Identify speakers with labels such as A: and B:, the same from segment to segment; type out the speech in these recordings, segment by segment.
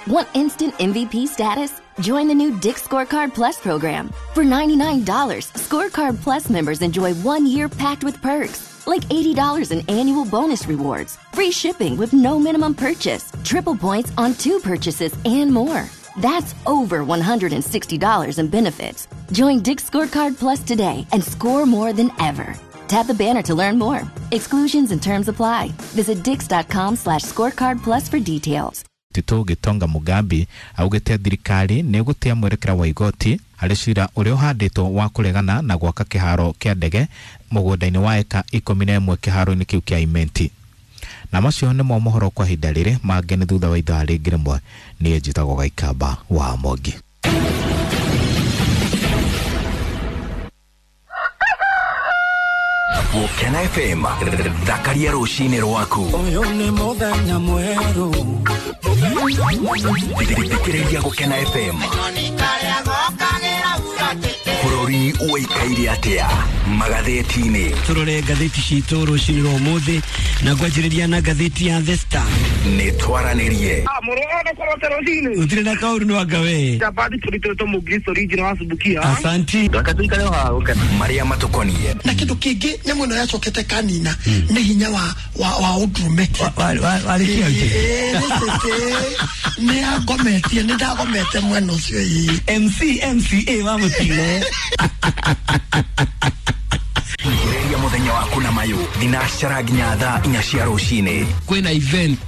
A: Want instant MVP status? Join the new Dick's Scorecard Plus program. For $99, Scorecard Plus members enjoy 1 year packed with perks, like $80 in annual bonus rewards, free shipping with no minimum purchase, triple points on two purchases, and more. That's over $160 in benefits. Join Dick's Scorecard Plus today and score more than ever. Tap the banner to learn more. Exclusions and terms apply. Visit dix.com/scorecard plus for details.
B: Tito Gitonga Mugambi augite thirikari nĩ ĩgũtĩa mwerekera wa igoti harĩ cira ũrĩa ũhandĩtwo wa kũregana na gwaka kĩharo kĩa ndege mũgũnda-inĩ wa eka 11 kĩharo-inĩ kĩu kĩa Imenti. Na macio nĩmo mohoro kwa ihinda rĩrĩ, mangĩ nĩ thutha wa ithaa rĩngĩ rĩmwe. Niĩ njĩtagwo Gaikamba wa Mwangi.
C: Gũkena FM, thakaria rũcinĩ rwaku.
D: Ũyũ nĩ mũthenya mwerũ.
C: Thikĩrĩria Gũkena FM. Bũrũri ũikaire atĩa magathĩti-inĩ?
D: Tũrore ngathĩti citũ rũcinĩ rwa ũmũthĩ na ngwanjĩrĩria na ngathĩti ya The Star.
C: Nĩ twaranĩrie.
D: Gũtirĩ na kaũru nĩ wanga we.
E: Chapati tulitoto Mugristo original asubukia.
D: Asanti.
C: Marĩa matũkoniĩ.
F: Na kindu kingi nyamu ĩno yacokete kanina nĩ hinya wa ũndũrũme.
D: Warĩkia.
F: Nĩ angometie, nĩ ndagomete mwena ũcio ĩĩ.
D: MC MCA wa mũtino.
C: Thikĩrĩria mũthenya waku na mayũ thinacara nginya thaa 4 cia rũcinĩ.
G: Kwina event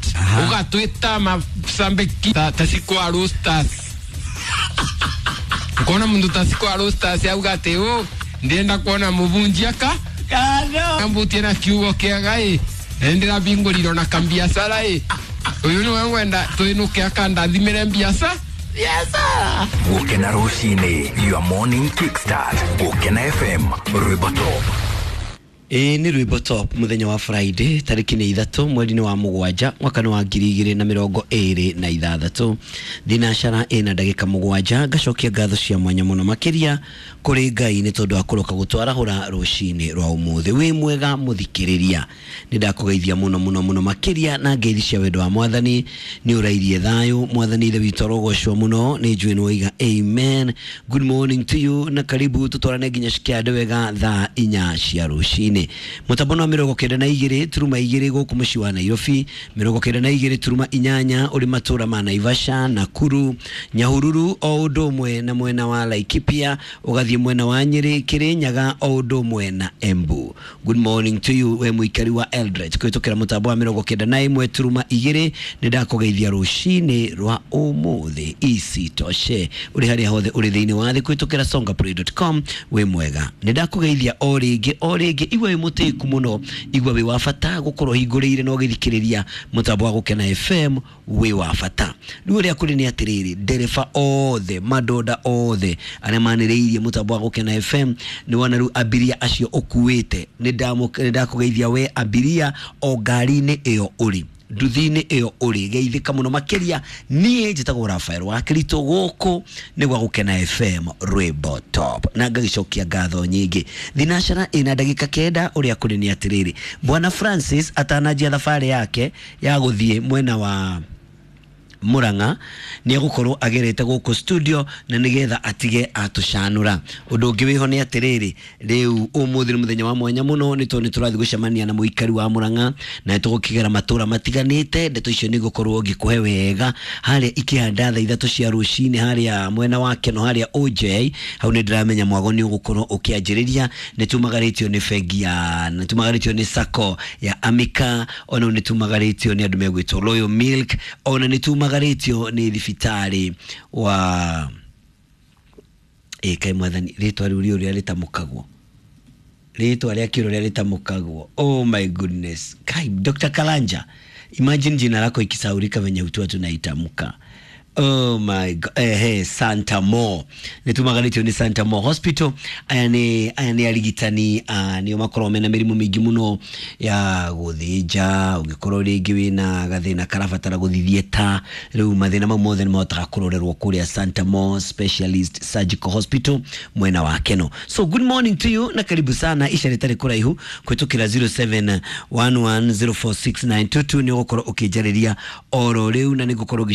G: ugatwita masambiki ta siku roasters, ukona mundu ta siku roasters auga ati u ndienda kuona mubunji aka ambutie na kiugo kiaga i ndirabingũrirwo na kambiacara ĩ uyu niwe ngwenda twinuke akandathimire mbiaca.
C: Gũkena rũcinĩ, your morning kickstart. Gũkena FM, rwĩmbo top.
D: Ĩĩ, nĩ rwĩmbo top mũthenya wa Friday, tarĩki nĩ 3 mweri-inĩ wa 7 mwaka nĩ wa 2026, thinacara ĩna ndagĩka 7. Ngacokia ngatho cia mwanya mũno makĩria kũrĩ Ngai nĩ tondũ wa kũroka gũtwarahũra rũcinĩ rwa ũmũthĩ. Wĩ mwega mũthikĩrĩria, nĩ ndakũgeithia mũno mũno mũno makĩria na ngeithi cia wendo wa Mwathani. Nĩ ũrairie thayũ, Mwathani ithe witũ arogocwo mũno. Nĩ njũĩ nĩ waiga amen. Good morning to you na karibu tũtwarane nginya cikĩande wega thaa 4 cia rũcinĩ. Mũtambo wa 92.2 gũkũ mũciĩ wa Nairobi, 92.8 ũrĩ matũra ma Naivasha, Nakuru, Nyahururu o ũndũ ũmwe na mwena wa Laikipia, ũgathiĩ mwena wa Nyĩrĩ, Kĩrĩnyaga o ũndũ ũmwe na Embu. Good morning to you we mũikari wa Eldoret kũhĩtũkĩra mũtambo wa 91.2. Nĩ ndakũgeithia rũcinĩ rwa ũmũthĩ. Isitoshe, ũrĩ harĩa hothe ũrĩ thĩinĩ wa thĩ kũhĩtũkĩra songaplay.com, wĩ mwega, nĩ ndakũgeithia o rĩngĩ o rĩngĩ. Igua wĩ mũtĩku mũno, igua wĩ wa bata gũkorwo hingũrĩire na ũgĩthikĩrĩria mũtambo wa Gũkena FM, wĩ wa bata. Rĩu ũrĩa kũrĩ nĩ atĩrĩrĩ, ndereba othe, madonda othe arĩa manĩrĩirie mũtambo wa Gũkena FM, nĩ wona rĩu abiria acio ũkuĩte, nĩ ndakũgeithia we abiria o ngari-inĩ ĩyo ũrĩ, nduthi-inĩ ĩyo ũrĩ, geithĩka mũno makĩria. Niĩ njĩtagwo Rafael wa Kirito, gũkũ nĩ gwa Gũkena FM, rwĩmbo top, na ngagĩcokia ngatho nyingĩ. Thinacara ĩna ndagĩka 9. Ũrĩa kũrĩ nĩ atĩrĩrĩ, Bwana Francis atananjia thabarĩ yake ya gũthiĩ mwena wa Murang'a nĩ egũkorwo agerete gũkũ studio na nĩgetha atige atũcanũra. Ũndũ ũngĩ wĩho nĩ atĩrĩrĩ, rĩu ũmũthĩ nĩ mũthenya wa mwanya mũno nĩ tondũ nĩ tũrathiĩ gũcemania na mũikari wa Murang'a na nĩ tũgũkĩgera matũra matiganĩte. Ndeto icio nĩ ngũkorwo ngĩkũhe wega harĩa ikĩhanda thaa 3 cia rũcinĩ harĩa mwena wa Keno harĩa OJ hau. Nĩ ndĩramenya mwago nĩ ũgũkorwo ũkĩanjĩrĩria. Nĩ tumagarĩtio nĩ bengi ya, nĩ tumagarĩtio nĩ sacco ya Amika, ona nĩ tumagarĩtio nĩ andũ megwĩtwo Royal Milk, ona nĩ tumagarĩtio nĩ thibitarĩ wa ĩ kaĩ Mwathani, rĩtwa rĩu rĩũrĩa rĩtamũkagwo, rĩtwa rĩa kĩũrĩa rĩrĩa rĩtamũkagwo, oh my goodness, kai Dr. Kalanja, imagine jina lako ikisaurika venye utua tunaitamka. Oh my God. Santa Mo, nĩ tumaganĩtio nĩ Santa Mo Hospital. Aya nĩ arigitani, nĩo makoragwo mena mĩrimũ mĩingĩ mũno ya gũthĩnja. Ũngĩkorwo rĩngĩ wĩna gathĩna karabatara gũthiĩ ta rĩu, mathĩna mau mothe nĩ mahotaga kũrorerwo kũrĩa Santa Mo Specialist Surgical Hospital mwena wa Keno. So good morning to you na karibu sana. Ica rĩtarĩ kũraihu kũhĩtũkĩra 0711046922 nĩ ũgũkorwo ũkĩnjarĩria oro rĩu na nĩ ngũkorwo.